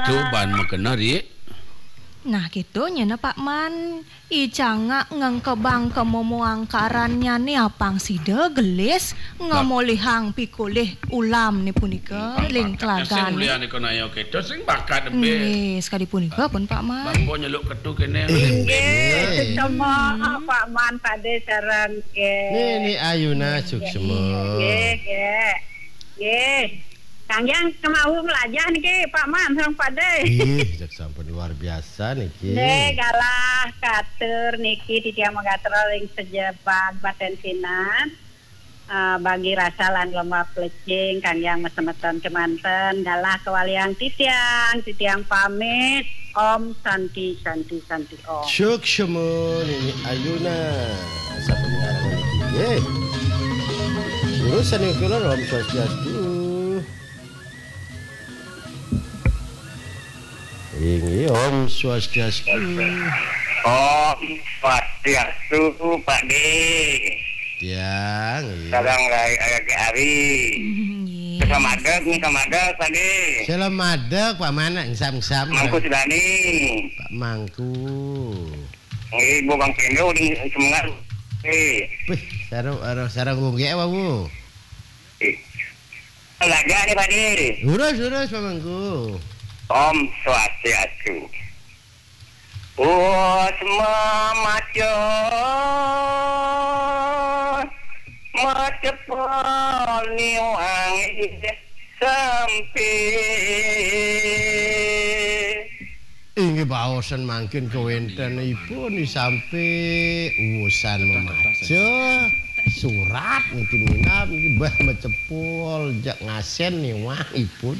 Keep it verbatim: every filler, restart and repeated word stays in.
Tuh ban makena, Ri. Nah, gitu nyana Pak Man. I cangak ngengkebang kemomo angkarannyane apang sida gelis ngamolihang pikolih ulamne punika ring telagan. Sing mulyane kono ayo keto sing bakat embe. Nggih, sakadi punika pun Pak Man. Bangko nyeluk ketu kene. Nggih, suksema Pak Man Pade sareng nggih. Nini Ayuna suksema. Nggih, nggih. Nggih. Kang Yang kemawon melajah niki Pak Man sareng Pade. Ih, jak sampun luar biasa niki. Nggih, galah katur niki titiang magatra ring sajebag batensinan. Eh, bagi rasa lan lemah plecing Kang Yang masemeton kemanten galah kawaliang titiang, titiang pamit. Om Santi, Santi, Santi Om. Suksema Nini Ayuna. Sampun ngarang niki nggih. Terus sane kula Om Swastiastu. Inggih, Om Swastiastu. Om Swastiastu, Pak De. Tiang, nggih. Sareng Rai Ayake Ari. Nggih. Selamadeg nih, selamadeg, Pak De. Selamadeg, Pak Mana, engsap-engsap. Mangku Sudani. Pak Mangku. Nggih, Bu Bang Kendo, udah semangat. Eh. Wih, sarung, sarung, sarung gunggek apa, Bu? Eh. Lajah nih, Pak De. Lurus, lurus, Pak Mangku. Om Swastiastu. Wus mamaca macepol niwang sampi. Inggih baosan mangkin kawentenipun sampi usan mamaca surat niki minab niki bah macepol jak ngasen niwang ipun.